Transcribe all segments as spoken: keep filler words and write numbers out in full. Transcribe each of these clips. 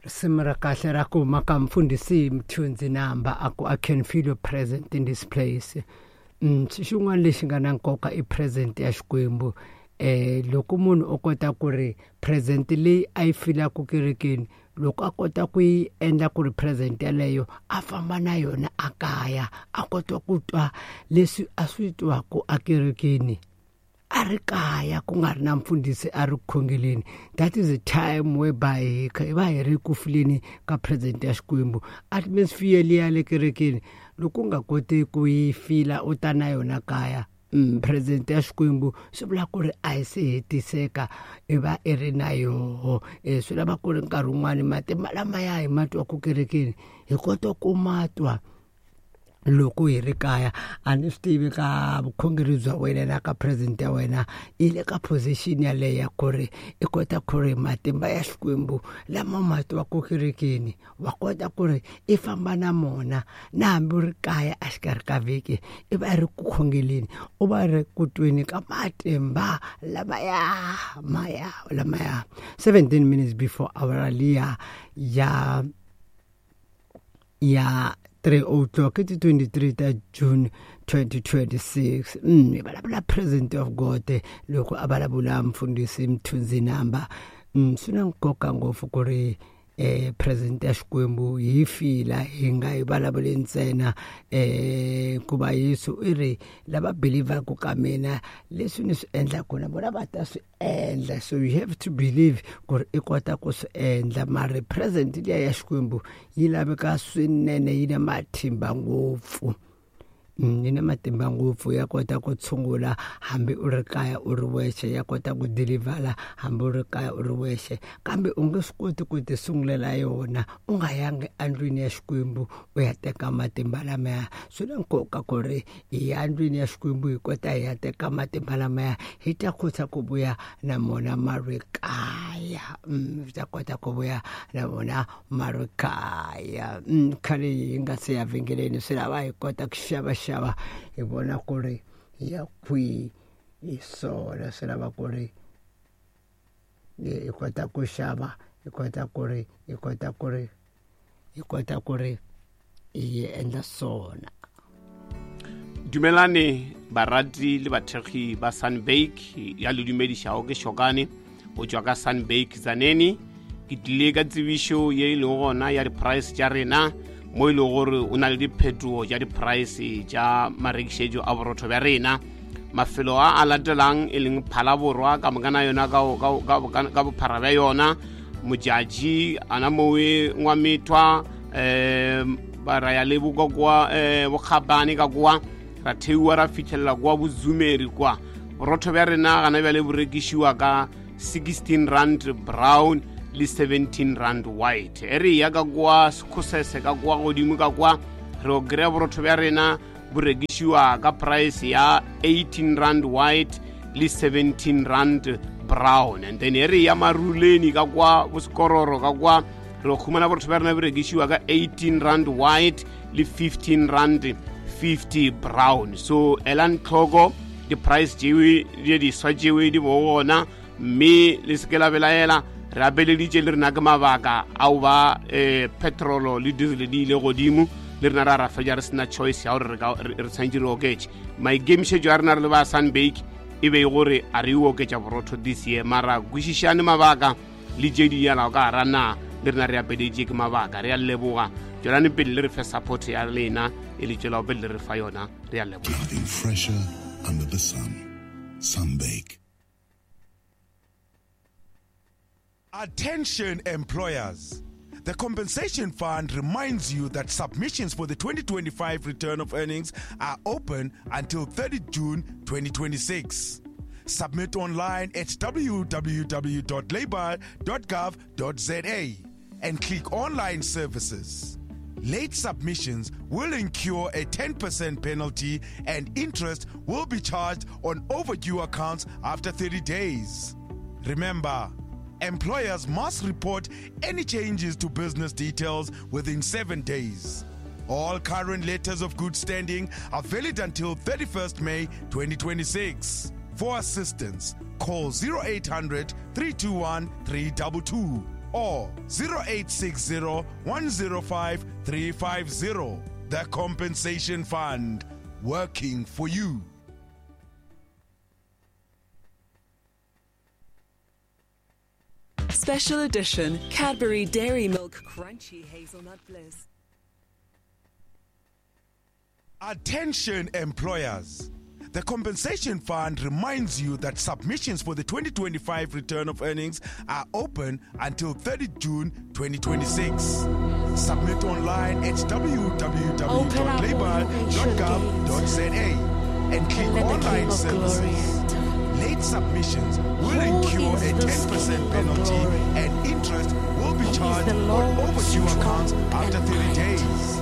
Risimu ra kahle ra ku huma ka mfundhisi Mthunzi Namba a ku I can feel your presence in this place. Mm, xin'wana lexi nga na nkoka i present ya Xikwembu. Eh loko munhu o kota ku ri present leyi a yi filaka kerekeni, loko a kota ku yi endla ku ri present yaleyo a famba na yona a kaya, a kota ku twa leswi a swi twaku akerekeni a ri kaya ku nga ri na mfundhisi a ri ku khongeleni. That is a time whereby hi va hi ri ku fileni ka present ya Xikwembu. Atmosphere liya le kerekeni loko u nga koti ku yi fila u ta na yona kaya, mm, present ya Xikwembu swi vula ku ri a yi se hetiseka, i va i ri na yoho. E swi lava ku ri nkarhi wun'wani matimba lamaya hi ma twaku kerekeni hi kota ku ma twa loko hi ri kaya. A ni swi tivi ka vukhongeri bya wena na ka present ya wena yi le ka position yaleyo ya ku ri i kota ku ri matimba ya Xikwembu lama ma twaku kerekeni wa kota ku ri i famba na mona na hambi u ri kaya a xikarhi ka vhiki, i va ri ku khongeleni, u va ri ku tweni ka matimba lamaya maya lamaya. seventeen minutes before hour liya ya ya three o'clock, it's twenty-three ta June twenty twenty-six. Mm, vulavula present of God loko a vulavula mfundhisi Mthunzi Namba. Mm, swi na nkoka ngopfu ku ri eh present ya Xikwembu hi fila, hi nga yi vulavuli ntsena. Eh ku va Yesu i ri lava believaku ka mina leswi ni swi endlaku na vona va ta swi endla. So you have to believe ku ri i kota ku swi endla. Mara present liya ya Xikwembu yi laveka swinene, yi na matimba ngopfu. Mm, yi na matimba ngopfu, ya kota ku tshungula hambi u ri kaya u ri wexe, ya kota ku deliver hambi u ri kaya u ri wexe, kambe u nge swi koti ku ti sungulela yona u nga yangi endlwini ya Xikwembu u ya teka matimba lamaya. Swi na nkoka ku ri hi ya endlwini ya Xikwembu hi kota hi ya teka matimba lamaya, hi ta kota ku vuya na mona ma ri kaya. Mm, hi ta kota ku vuya na mona ma ri kaya. Mm, khale hi nga se ya vhengeleni, swi lava hi kota ku xava xava hi vona ku ri ya kwihi hi swona. Swi lava ku ri hi kota ku xava, hi kota ku ri hi kota ku ri hi kota ku ri hi endla swona. Dumelane barati le bathekgi ba Sunbake ya le dumedišago ke Shokane go tšwa ka Sunbake Tzaneen. Ke tlile ka tsebišo ye e lego gona ya di-price tša rena, mo e lego gore o na le diphetogo tša di-price tša marekišetšo a borotho bja rena. Mafelo a a latelang e leng Phalaborwa ka moka na yona ka bophara bja yona, Modjadji ana mowe Ngwamethwa, um ba ra ya le boka kwa um Bokgabane ka kwa, ra theiwa ra fitlhelela kwa Bozumeri kwa. Borotho bja rena gana bjale bo rekišiwa ka sixteen rand brown le seventeen rand white. E re ya ka kwa Sekhosese ka kwa godimo ka kwa, re o kry-a borotho bja rena bo rekišiwa ka price ya eighteen rand white le seventeen rand brown. And then e re ya Maruleni ka kwa Bosekororo ka kwa, re o khumana borotho bja rena bo rekišiwa ka eighteen rand white le fifteen rand fifty brown. So elang tlhoko di-price tšewe di diswa tšewe di bo gona, mme le se ke la belaela. Re apeleditše le rena ke mabaka ao ba eh, petrolo le diesel di ile godimo, le rena ra ra fetša re sena choice ya gore re tshwanetse re oketše. Maikemišetšo a rena re le ba Sunbake e be e gore a re oketša borotho this year, mara kwešišane mabaka le tše di yalago ka gara na le rena re apeleditše ke mabaka. Re a leboga, tšwelane pele le re fe support ya lena e le tšwelago pele le re fa yona. Re a leboga. Nothing fresher under the sun. Sunbake. Attention employers. The Compensation Fund reminds you that submissions for the twenty twenty-five return of earnings are open until thirtieth June twenty twenty-six. Submit online at w w w dot labour dot gov dot z a and click Online Services. Late submissions will incur a ten percent penalty and interest will be charged on overdue accounts after thirty days. Remember, employers must report any changes to business details within seven days. All current letters of good standing are valid until thirty-first May twenty twenty-six. For assistance, call zero eight hundred, three two one, three two two or zero eight six zero, one zero five, three five zero. The Compensation Fund, working for you. Special edition Cadbury Dairy Milk Crunchy Hazelnut Bliss. Attention employers. The Compensation Fund reminds you that submissions for the twenty twenty-five return of earnings are open until thirtieth June twenty twenty-six. Submit online at w w w dot labour dot gov dot z a and click Let the online King of glory services. enter. Late submissions will Who incur is a this ten percent King of penalty glory? and interest will be He is charged the on Lord overdue strong accounts after and thirty mighty. days.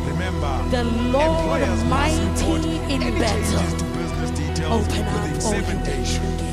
Remember, The Lord employers must mighty report in any battle. changes to business details Open up within all seven you days. ancient gates.